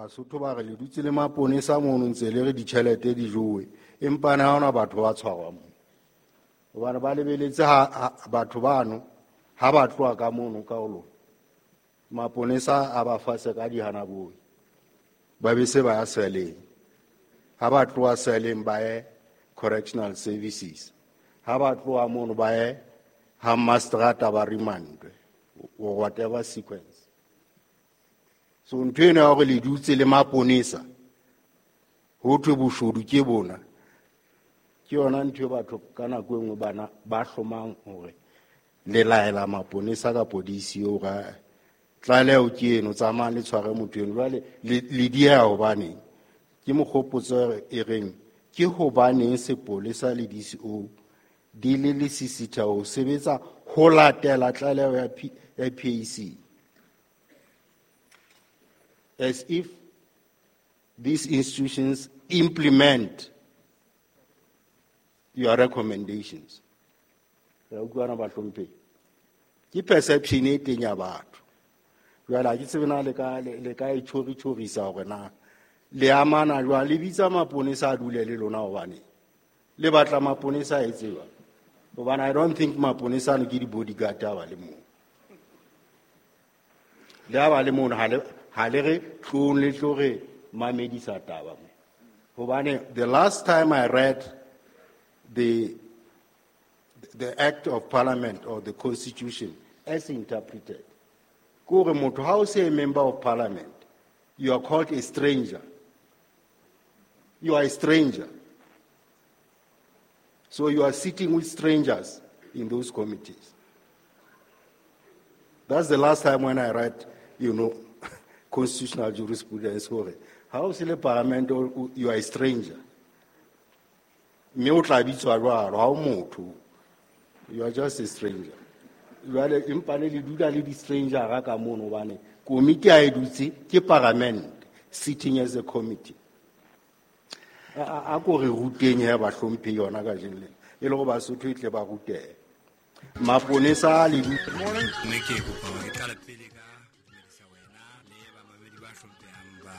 Basotho ba re le dutse le maponesa mono ntse le re ditjhelete di jowe, empa na ha hona batho ba tshwarwa moo. Hobane ba lebeletse ha batho bano ha ba tloha ka mono ka ho lona, maponesa a ba fase ka dihanaboi, ba be se ba ya seleng. Ha ba tloha seleng ba ye correctional services, ha ba tloha mono ba ye ha mastrata ba remandwe or whatever sequence. So ntho eno ya hore le dutse le maponesa ho thwe boshodu ke bona, ke yona ntho e batho ka nako e nngwe bana ba hlomang hore le laela maponesa kapo DCO hore tlaleho ke eno, tsamayang le tshware motho eno. Jwale le dieha hobaneng? Ke mokgopotso e reng ke hobaneng sepolesa le DCO di le lesisitha ho sebetsa ho latela tlaleho ya PAC, as if these institutions implement your recommendations. Re utlwana bahlomphehi? Ke perception e teng ya batho. Jwale ha ke tsebe na le ka e tjhori-tjhorisa hore na le amana jwang, le bitsa maponesa a dule le lona hobane le batla maponesa a etse jwang? Hobane I don't think maponesa ano ke di-bodyguard ha ba le moo. Le ha ba le mono, ha le re tlong le tlo re mamedisa taba mo. Hobane the last time I read the Act of Parliament or the Constitution as interpreted, ke hore motho ha o se a member of parliament, you are called a stranger. You are a stranger. So you are sitting with strangers in those committees. That's the last time when I read, you know, constitutional jurisprudence. Ha o se le parliament, you are a stranger. Mme o tla bitswa jwalo, ha o motho. You are just a stranger. Jwale empa ne le dula le di-stranger ka mono hobane komiti ha e dutse ke parliament sitting as a committee. A ko re ruteng he bahlomphehi yona kajeno lena, e le hore Basotho e tle ba rutehe. Maponesa a le Morning. Mme ke kopa hore ke qale pele.